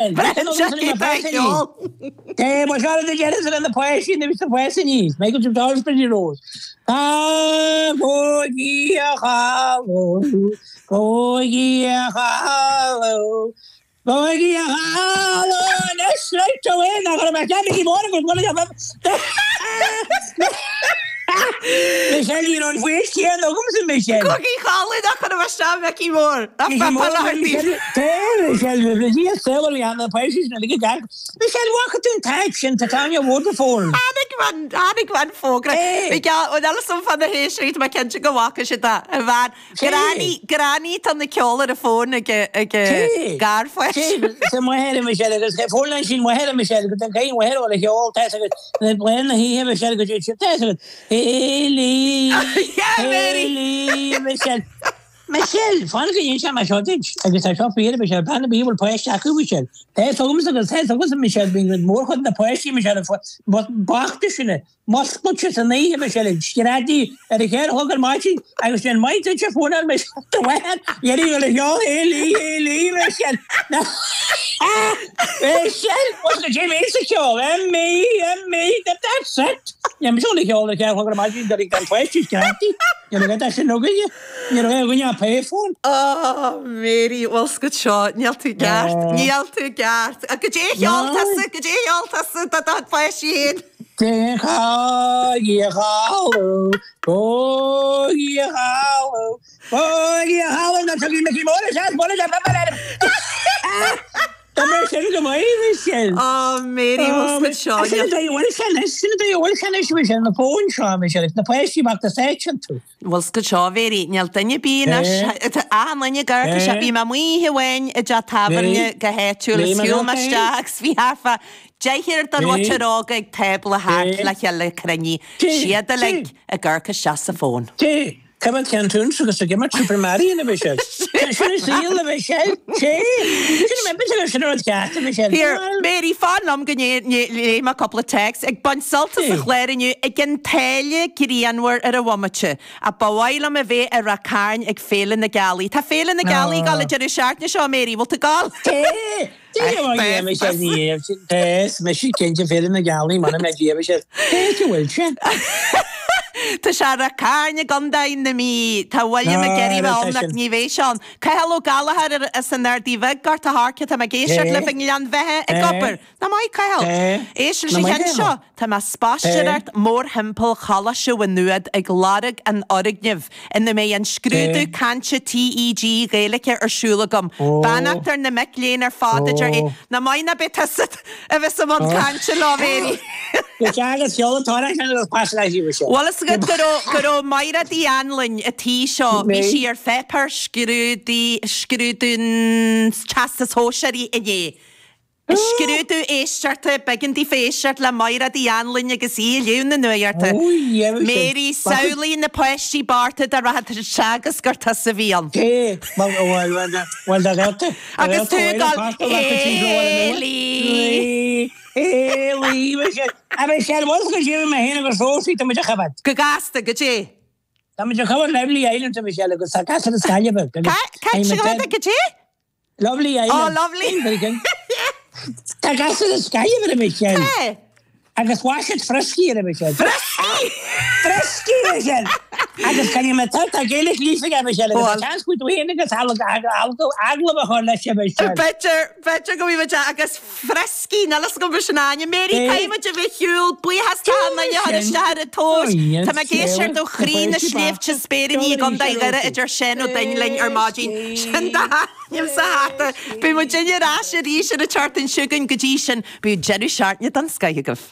Braitheann sé cé tá ag ceol. Té, mo chara de deireadh ar na páistí na bhí páistí níos, Michael Jim Dollars Pretty Rose. Tá bóigí a chalú, bóigí a chalú, bóigí a chalú, anois right away nach raibh mé ceannaigh mór agus bhuel Michelle ní raibh an faois chéanna agamsa Michelle. Cogaí Chalaidh nach raibh isteach Micí Mór. Nach Micí Mór Michelle Michelle bhí a saol a bhí ann na páistí sin uilig ag amharc. Michelle bhfaca tú an t-áit sin tá Tanya Waterfall. Tháinig an tháinig an fógra. Bhí geall bhfuil fhios agam fá na héisteoirí tá mé cinnte go bhfaca siad é. A bhean Granny Granny tá na ceol ar a fón ag ag garpháiste. Sa máthair Michelle agus fón leis sin máthair Michelle go den caoi máthair ó le cheol tá agus le bliain na hoíche Michelle go dtí tá agus Hayley Hayley Michelle Michelle fan go ndéan sé mar seo duit agus tá seo fíor Michelle bean a bhí bhfuil páiste acu Michelle tá fhios agamsa agus tá fhios agamsa Michelle bíonn mórchuid na páistí Michelle bochta sinne Muscailte san oíche, Michelle, ag screadaí ar a cheithre chlog ar maidin agus déan maith duit a phónáil Michelle do mháthair iarraidh dul a cheol Hayley Hayley Michelle Michelle what's the Jim Ace a cheol M E M E that's it Ní mise dul a cheol ar a cheithre chlog ar maidin do gan páistí screadaí ní raibh é sin againne ní raibh againne ach payphone. Oh Mary bhfuil 's agat seo níl tú ceart níl tú ceart goidé a cheol tusa goidé a cheol tusa do do pháistí féin. Tá mé sin go maith, Michelle. Oh Mary, bhfuil 's agat seo. Sin an dóigh a bhfuil sé anois, sin an dóigh a bhfuil sé anois, Michelle, na fóin seo, Michelle, na páistí bochta sáite iontu. Bhfuil 's agat seo, a Mhary, níl duine ar bith anois, tá achan duine ag amharc isteach, bhí mé amuigh oíche amháin i dteach tábhairne go háitiúil is shiúil mé isteach agus bhí thart fá deichniúr den mhuintir óga ag tábla thart le chéile cruinnithe, siad uilig ag amharc isteach sa bhfón. Cá bhfuil ceann túns agus ag imirt Super Mario a Mhichelle? Sin an saol a Mhichelle. Sé. Sin an sin sin an rud ceart a Mhichelle. Here, Mary, fan liom go léifidh mé cúpla téacs. Ag baint sult as an chlár inniu ag an tsáile grianmhar ar an bhomaite. Ach ba mhaith liom a bheith i Ráth Cairn ag Féile na Gealaí. Tá Féile na Gealaí ag dul an deireadh seachtaine seo, Mary. Bhfuil tú ag dul? Té! Té, is mise cinnte Féile na Gealaí muna mbeidh Dia Michelle. Cé go bhfuil sé? Tá sé i Ráth Cairn i gContae na Mí. Tá William ag iarraidh a bheith ann ach ní bheidh sé ann. Cathal Ó Gallchóir as an Ardaidh Bhig, Gort a' Choirce, tá mé ag éisteacht libh i nGleann Bheatha ag obair. Nach maith Cathal? Éist leis an cheann seo. Tá mé ag spaisteoireacht mórthimpeall Choláiste Mhaigh Nuad ag lorg an fhoirgnimh ina mbeidh an scrúdú cainte TEG Gaeilge ar siúl agam. Beannacht ar na mic léinn ar fad a deir é. Nach maith ná beidh tusa a bheas i mbun cainte leo, Mary. Go deas, sheol an t-amhrán sin agus pas leis í, Michelle. Bhfuil fhios agat go raibh, go raibh Maighread Uí Anluain a' tí seo, bhí sí ar pháipéar scrúdaí, scrúdú an Teastais Shóisearaigh inné. Scrúdú éisteachta, b'éigean daofa éisteacht le Maighread Uí Anluain agus í ag léamh na nuachta. Mary, Samhlaigh na páistí bochta dá rachadh teagasc gur tusa a bhí ann. Agus tú ag dul, Héilí! Go gasta, goidé? Cá, goidé? Lovely Island. Oh, lovely. Tá gasúr as Gaillimh ar a Michelle. Tá. Agus mhaith siad Frioscaí ar a Michelle. Frioscaí! Frioscaí, Michelle! Agus can you tá tá Gaelic líofa aige Michelle agus tá seans go bhfuil tú féin agus agallamh a chur leis a Michelle. B'fhéidir, b'fhéidir go bhfuil muid agus Frioscaí, níl fhios agam sin ainm. Mary, caithfidh muid a bheith ar shiúl, buíochas d'achan duine a chuir isteach ar an tomhas. Tá mé ag éisteacht ó chroí na sléibhte Spéiríní i gContae Dhoire a deir Seán Ó Duinn linn ar maidin. Sin d'ainm sa hata. Beidh muidinne ar ais arís ar an tseachtain seo chugainn. Go dtí sin, bíodh deireadh seachtaine den scoith agaibh.